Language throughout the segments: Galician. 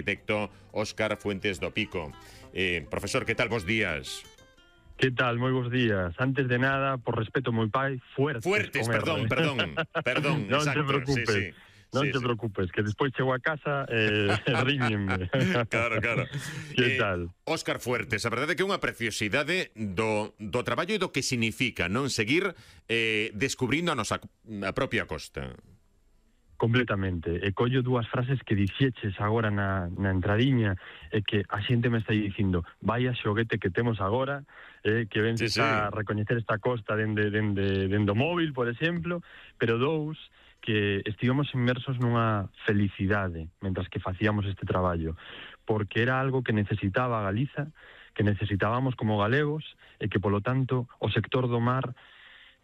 arquitecto Óscar Fuentes do Pico. Profesor, que tal, bos días? Que tal? Moi bons días. Antes de nada, por respeto moi pai, Fuertes, perdón, non exacto, te preocupes. sí. Non te preocupes, que despois chego a casa ríñenme. Claro. Que tal? Óscar Fuertes, a verdade é que é unha preciosidade do traballo e do que significa non seguir descubrindo a propia costa. Completamente. E collo dúas frases que dixeches agora na entradiña, e que a xente me está dicindo: vaya xoguete que temos agora, que ben se está a recoñecer esta costa dende o móvil, por exemplo, pero dous, que estivemos inmersos nunha felicidade mentras que facíamos este traballo, porque era algo que necesitaba a Galiza, que necesitábamos como galegos, e que, polo tanto, o sector do mar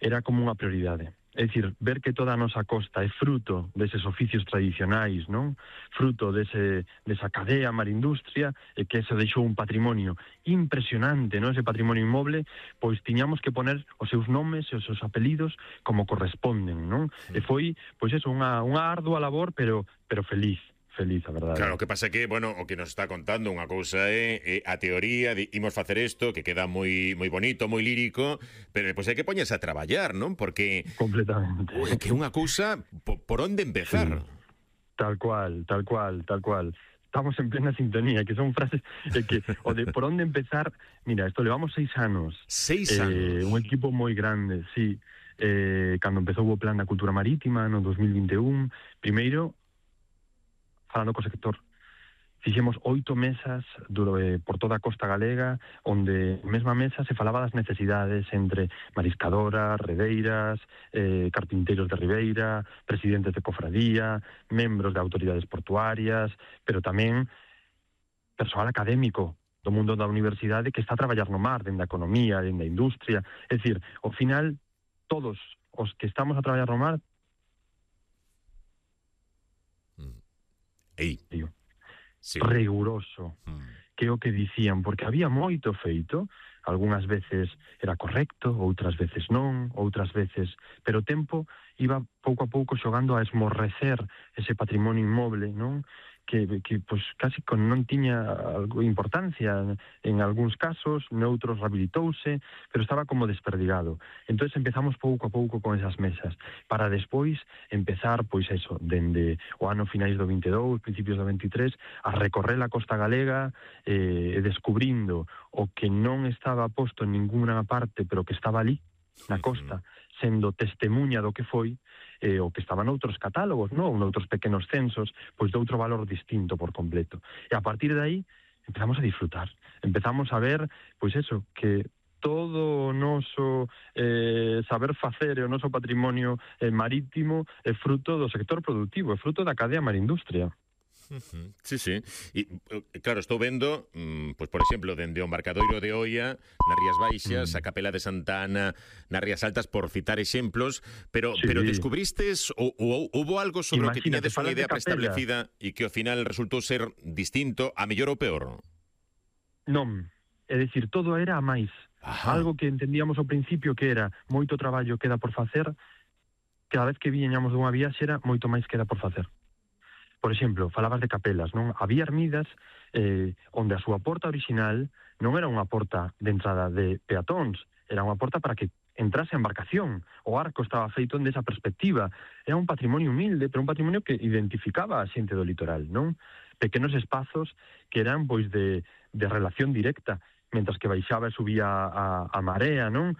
era como unha prioridade. É dicir, ver que toda a nosa costa é fruto deses oficios tradicionais, non? Fruto desa cadea marindustria, e que eso deixou un patrimonio impresionante, non? Ese patrimonio inmoble, pois tiñamos que poner os seus nomes e os seus apelidos como corresponden, non? E foi, pois eso, unha ardua labor, pero feliz, a verdade. Claro, o que pasa é que, bueno, o que nos está contando unha cousa é a teoría de imos facer isto, que queda moi bonito, moi lírico, pero depois hai que poñerse a traballar, non? Porque completamente. Que é unha cousa por onde empezar. Sí. Tal cual. Estamos en plena sintonía, que son frases que o de por onde empezar, mira, esto levamos 6 anos. 6 anos. Un equipo moi grande, sí. Cando empezou o plan da cultura marítima no 2021, primeiro falando co sector, fixemos 8 mesas por toda a costa galega, onde mesma mesa se falaba das necesidades entre mariscadoras, redeiras, carpinteiros de ribeira, presidentes de cofradía, membros de autoridades portuarias, pero tamén persoal académico do mundo da universidade que está a traballar no mar, dende a economía, dende a industria. É dicir, ao final, todos os que estamos a traballar no mar Sí. Riguroso, que é o que dicían, porque había moito feito, algunhas veces era correcto, outras veces non, outras veces, pero o tempo iba pouco a pouco xogando a esmorrecer ese patrimonio inmoble, non? Que pois casi non tiña algo importancia en algúns casos, noutros rehabilitouse, pero estaba como desperdigado. Entonces empezamos pouco a pouco con esas mesas, para despois empezar, pois eso, dende o ano finais do 22, principios do 23, a recorrer a costa galega, e descubrindo o que non estaba posto en ninguna parte, pero que estaba ali, na costa, sendo testemunha do que foi, o que estaba noutros catálogos, non? Noutros pequenos censos, pois de outro valor distinto por completo. E a partir de aí empezamos a disfrutar, empezamos a ver, pois eso, que todo o noso saber facer e o noso patrimonio marítimo é fruto do sector productivo, é fruto da cadea marindustria. Sí. E, claro, estou vendo, pois, por exemplo, dende o embarcadoiro de Oia, nas Rías Baixas, a Capela de Santa Ana, nas Rías Altas, por citar exemplos, pero descubristes ou houbo algo sobre o que tiñades unha idea preestablecida e que ao final resultou ser distinto, a mellor ou peor? Non, é dicir, todo era a máis. Algo que entendíamos ao principio que era moito traballo queda por facer, cada vez que viñamos dunha viaxe era moito máis queda por facer. Por exemplo, falabas de capelas, non? Había ermidas onde a súa porta original non era unha porta de entrada de peatóns, era unha porta para que entrase a embarcación. O arco estaba feito desa perspectiva. Era un patrimonio humilde, pero un patrimonio que identificaba a xente do litoral, non? Pequenos espazos que eran, pois, de relación directa, mentras que baixaba e subía a marea, non?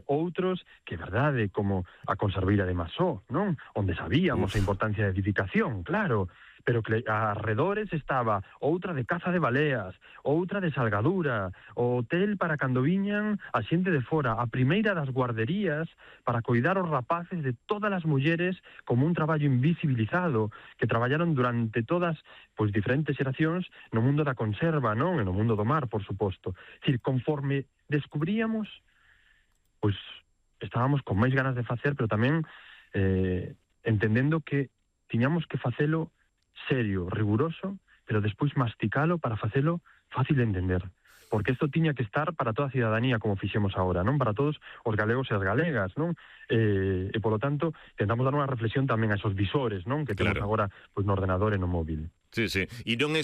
Outros que, verdade, como a conserveira de Masó, non? Onde sabíamos a importancia da edificación, claro, pero que arredores estaba outra de caza de baleas, outra de salgadura, o hotel para cando viñan a xente de fora, a primeira das guarderías para coidar os rapaces de todas as mulleres como un traballo invisibilizado, que traballaron durante todas, pois, diferentes xeracións no mundo da conserva, non? E no mundo do mar, por suposto. É dicir, conforme descubríamos, pois, estábamos con máis ganas de facer, pero tamén entendendo que tiñamos que facelo serio, riguroso, pero despois masticalo para facelo fácil de entender. Porque isto tiña que estar para toda a cidadanía, como fixemos agora, non? Para todos os galegos e as galegas, non? E, polo tanto, tentamos dar unha reflexión tamén a esos visores, non? Que temos agora, pois, no ordenador e no móvil. Sí. E non é